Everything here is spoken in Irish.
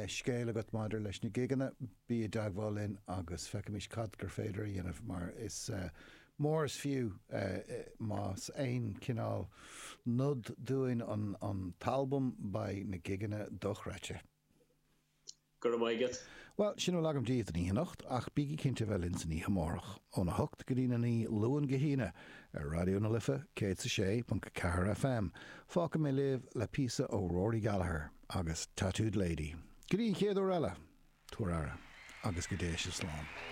scéal agat maidir leis na gigeanna, bí i dteagmháil linn agus feicfimis cad gur féidir a dhéanamh mar is mór is fiú más aon chineál nod dúinn an t-albam beidh na gigeanna dochreidte. Go raibh maith agat. Bhuel, sin a bhfuil agam daoibh don oíche anocht, ach bígí cinnte a bheith linn san oíche amárach, óna hocht go dtína naoi, Luan go hAoine, ar Raidió na Life 106.4 FM. Fágfaidh mé libh le píosa ó Rory Gallagher agus Tattooed Lady. Go dtí an chéad uair eile, tabhair aire, agus go dté sibh slán.